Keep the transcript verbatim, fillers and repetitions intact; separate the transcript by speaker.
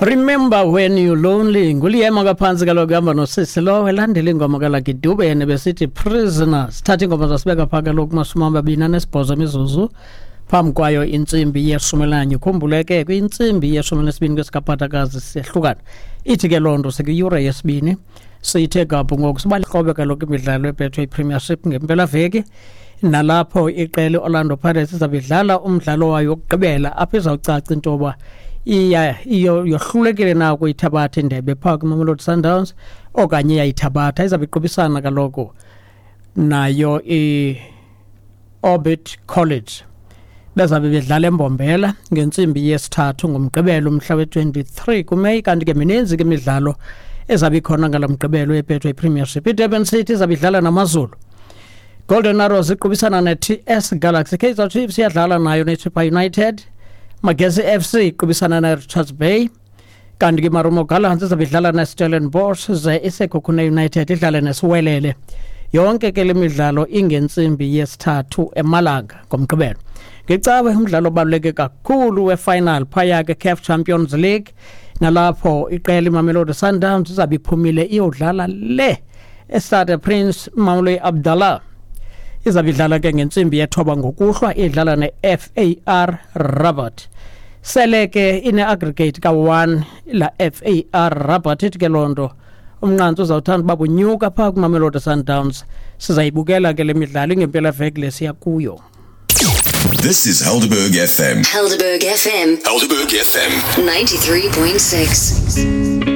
Speaker 1: Remember When You Lonely nguLiyema kaphantsi kaloku kuhamba nosisi lo elandela ingoma kaLucky Dube yena besithi Prisoners. Thatha ingoma zasibeka phaa kaloku mashumi amabini anesibhozo imizuzu phambi kwayo intsimbi yeshumi elinanye. Ukhumbule ke kwintsimbi yeshumi elinesibini kwesikaphathakazi siyehlukana, ithi ke loo nto sikwiyure yesibini siyithe gabhu ngoku sibalikrobe kaloku imidlalo eBetway Premiership ngempelaveki, nalapho iqela i-Orlando Pirates izabe idlala umdlalo wayo wokugqibela apho izawucaca into yoba iya iyo yohlulekile na ukuyithabatha indebe phaa kwiMamelodi Sundowns okanye iyayithabatha. Izabe iqubisana kaloku nayo i-Orbit College, bezabe bedlala eMbombela ngentsimbi yesithathu ngoMgqibelo umhla we-twenty-three kuMeyi. Kanti ke mininzi ke imidlalo ezabe ikhona ngalo Mgqibelo eBetway Premiership. IDurban City izabe idlala naMaZulu, Golden Arrows iqubisana ne-T S Galaxy, Kaizer Chiefs iyadlala nayo neChippa United, Magesi F C iqubisana ne-Richards Bay, kanti ke Marumo Gallants izabe idlala ne-Stellenbosch, ze iSekhukhune United idlale neSiwelele. Yonke ke le midlalo ingentsimbi yesithathu emalanga ngoMgqibelo. Ngecawe umdlalo obaluleke kakhulu we-final phaya ke CAF Champions League, nalapho iqela iMamelodi Sundowns izabe iphumile iyodlala le eStade Prince Moulay Abdallah. Izabe idlala ke ngentsimbi yethoba ngokuhlwa idlala ne-F A R Rabat. Sele ke ine-aggregate ka-one la F A R Rabat, ithi ke loo nto umnqantsi uzawuthanda uba bunyuka phaa kwiMamelodi Sundowns. Sizayibukela ke le midlalo ingempelaveki le siya kuyo.
Speaker 2: This is Helderberg F M.
Speaker 3: Helderberg F M.
Speaker 2: Helderberg F M.
Speaker 3: ninety-three point six.